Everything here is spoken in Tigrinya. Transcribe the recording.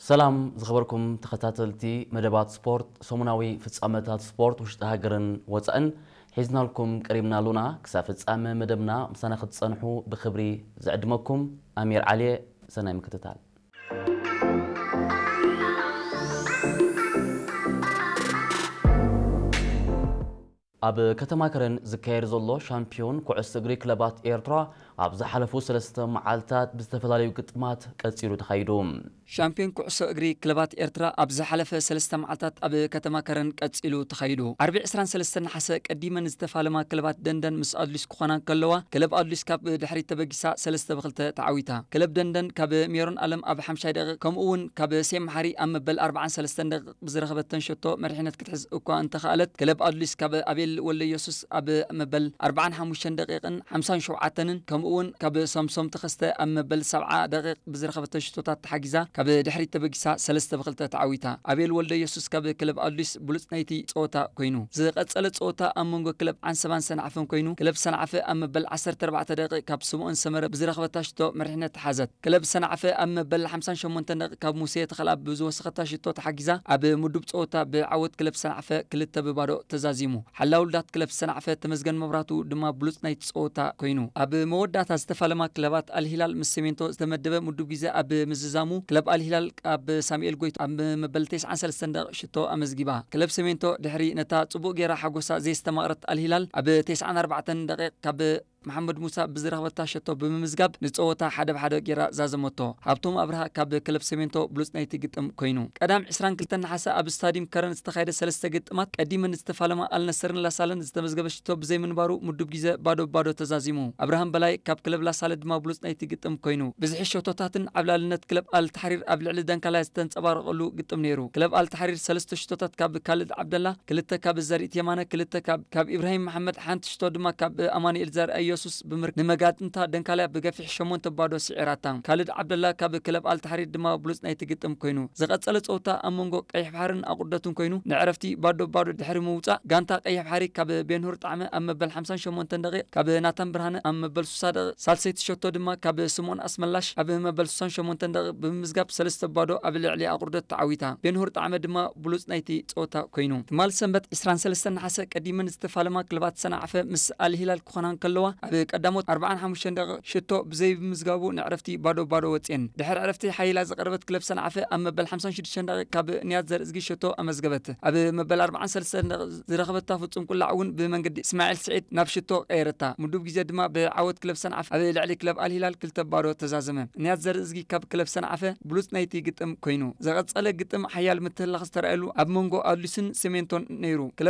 ሰላም ዝኸበርኩም ተኸታተልቲ መደባት ስፖርት፣ ሰሙናዊ ፍጻመታት ስፖርት ውሽጢ ሃገርን ወጻእን ሒዝናልኩም ቀሪብና ኣሉና። ክሳብ ፍጻመ መደብና ምሳና ክትጸንሑ ብኽብሪ ዝዕድመኩም ኣሚር ዓሊየ። ሰናይ ምክትታል። ኣብ ከተማ ከረን ዝካየድ ዘሎ ሻምፒዮን ኩዕሶ እግሪ ክለባት ኤርትራ ኣብ ዝሓለፉ ሰለስተ መዓልታት ብዝተፈላለዩ ግጥማት ቀጺሉ ተኻይዱ። ሻምፒዮን ኩዕሶ እግሪ ክለባት ኤርትራ ኣብ ዝሓለፈ ሰለስተ መዓልታት ኣብ ከተማ ከረን ቀጺሉ ተኻይዱ። ዓርቢ ዕስራን ሰለስተን ነሓሰ ቀዲመን ዝተፋለማ ክለባት ደንደን ምስ ኣድሊስ ክኾና እንከለዋ፣ ክለብ ኣድሊስ ካብ ድሕሪት ተበጊሳ ሰለስተ ብኽልተ ተዓዊታ። ክለብ ደንደን ካብ ሜሮን ኣለም ኣብ ሓምሻይ ደቂቕ፣ ከምኡ እውን ካብ ሴም መሓሪ ኣብ መበል ኣርባዓን ሰለስተን ደቂቕ ብዝረኸበተን ሸቶ መሪሕነት ክትሕዝ እኳ እንተኸኣለት፣ ክለብ ኣድሊስ ካብ ኣቤል ወልደ ኢየሱስ ኣብ መበል ኣርባዓን ሓሙሽተን ደቂቕን ሓምሳን ሸውዓተንን፣ ከምኡ እውን ካብ ሳምሶም ተኸስተ ኣብ መበል ሰብዓ ደቂቕ ብዝረኸበተን ሽቶታት ተሓጊዛ ካብ ድሕሪት ተበጊሳ ሰለስተ ብኽልተ ተዓዊታ። ኣቤል ወልደ ኢየሱስ ካብ ክለብ ኣድሊስ ብሉጽ ናይቲ ጸወታ ኮይኑ። ዝቐጸለ ጸወታ ኣብ መንጎ ክለብ ዓንሰባን ሰንዓፈን ኮይኑ፣ ክለብ ሰንዓፈ ኣብ መበል ዓሰርተ ኣርባዕተ ደቂቕ ካብ ስምኦን ሰመረ ብዝረኸበታ ሽቶ መሪሕነት ሓዘት። ክለብ ሰንዓፈ ኣብ መበል ሓምሳን ሸሞንተን ደቂቕ ካብ ሙሴ ተኸላ ብዝወሰኸታ ሽቶ ተሓጊዛ ኣብ ምዱብ ጸወታ ብዓወት ክለብ ሰንዓፈ ክልተ ብባዶ ተዛዚሙ። ሓላው ውልዳት ክለብ ሰንዓፈ ተመስገን መብራቱ ድማ ብሉጽ ናይቲ ጸወታ ኮይኑ። ኣብ መወዳእታ ዝተፋለማ ክለባት ኣልሂላል ምስ ሰሜንቶ ዝተመደበ ምዱብ ግዜ ኣብ ምዝዛሙ፣ ክለብ ኣልሂላል ኣብ ሳሙኤል ጎይቱ ኣብ መበል ተስዓን ሰለስተን ደቂቕ ሽቶ ኣመዝጊባ። ክለብ ሰሜንቶ ድሕሪ ነታ ጽቡቕ ጌራ ሓጎሳ ዘየስተማቕረት ኣልሂላል ኣብ ተስዓን ኣርባዕተን ደቂቕ ካብ መሓመድ ሙሳ ብዝረኸበታ ሸቶ ብምምዝጋብ ንጸወታ ሓደ ብሓደ ጌራ ዛዘመቶ። ሃብቶም ኣብርሃ ካብ ክለብ ሰሜንቶ ብሉጽ ናይቲ ግጥም ኮይኑ። ቀዳም ዕስራን ክልተን ነሓሰ ኣብ ስታዲየም ከረን ዝተኻየደ ሰለስተ ግጥማት ቀዲመን ዝተፋለማ ኣልነሰርን ላሳለን ዝተመዝገበ ሽቶ ብዘይምንባሩ ምዱብ ግዜ ባዶ ባዶ ተዛዚሙ። ኣብርሃም በላይ ካብ ክለብ ላሳለ ድማ ብሉጽ ናይቲ ግጥም ኮይኑ። ብዝሒ ሸቶታትን ዓብላልነት ክለብ ኣልታሕሪር ኣብ ልዕሊ ደንካላ ዝተንጸባረቐሉ ግጥም ነይሩ። ክለብ ኣልታሕሪር ሰለስተ ሽቶታት ካብ ካልድ ዓብደላ፣ ክልተ ካብ ዘርኢት የማነ፣ ክልተ ካብ፣ ካብ ኢብራሂም መሓመድ፣ ሓንቲ ሽቶ ድማ ካብ ኣማኑኤል ዘርኣ ኢየሱስ ብምር-፣ ንመጋጥምታ ደንካላ ብገፊሕ ሸሞንተ ባዶ ስዒራታ። ካልድ ዓብደላ ካብ ክለብ ኣልታሕሪር ድማ ብሉጽ ናይቲ ግጥም ኮይኑ። ዝቐጸለ ጸወታ ኣብ መንጎ ቀይሕ ባሕርን ኣቑርደትን ኮይኑ፣ ንዕረፍቲ ባዶ ባዶ ድሕሪ ምውጻእ፣ ጋንታ ቀይሕ ባሕሪ ካብ ቤንሁር ጣዕመ ኣብ መበል ሓምሳን ሸሞንተን ደቂቕ፣ ካብ ናታን ብርሃነ ኣብ መበል ስሳ ደቂቕ፣ ሳልሰይቲ ሸቶ ድማ ካብ ስምኦን ኣስመላሽ ኣብ መበል ስሳን ሸሞንተን ደቂቕ ብምምዝጋብ ሰለስተ ባዶ ኣብ ልዕሊ ኣቑርደት ተዓዊታ። ቤንሁር ጣዕመ ድማ ብሉጽ ናይቲ ጸወታ ኮይኑ። ትማል ሰንበት ዕስራን ሰለስተን ነሓሰ ቀዲመን ዝተፋለማ ክለባት ሰንዓፈ ምስ ኣልሂላል ክኾና እንከለዋ፣ ኣብ ቀዳሞት ኣርባዓን ሓሙሽተን ደቂቕ ሽቶ ብዘይምዝጋቡ ንዕረፍቲ ባዶ ባዶ ወጽየን። ድሕሪ ዕረፍቲ ሓይላ ዝቐረበት ክለብ ሰንዓፈ ኣብ መበል ሓምሳን ሽዱሽተን ደቂቕ ካብ ንያት ዘርእዝጊ ሽቶ ኣመዝገበት። ኣብ መበል ኣርባዓን ሰለስተን ደቂቕ ዝረኸበታ ፍጹም ቁላዕ እውን ብመንገዲ እስማዒል ስዒድ ናብ ሽቶ ቀየረታ። ምዱብ ግዜ ድማ ብዓወት ክለብ ሰንዓፈ ኣብ ልዕሊ ክለብ ኣልሂላል ክልተ ባዶ ተዛዘመ። ንያት ዘርእዝጊ ካብ ክለብ ሰንዓፈ ብሉጽ ናይቲ ግጥም ኮይኑ። ዝቐጸለ ግጥም ሓያል ምትህልላኽ ዝተረኣየሉ ኣብ መንጎ ኣድሊስን ሰሜንቶን ነይሩ። ክለብ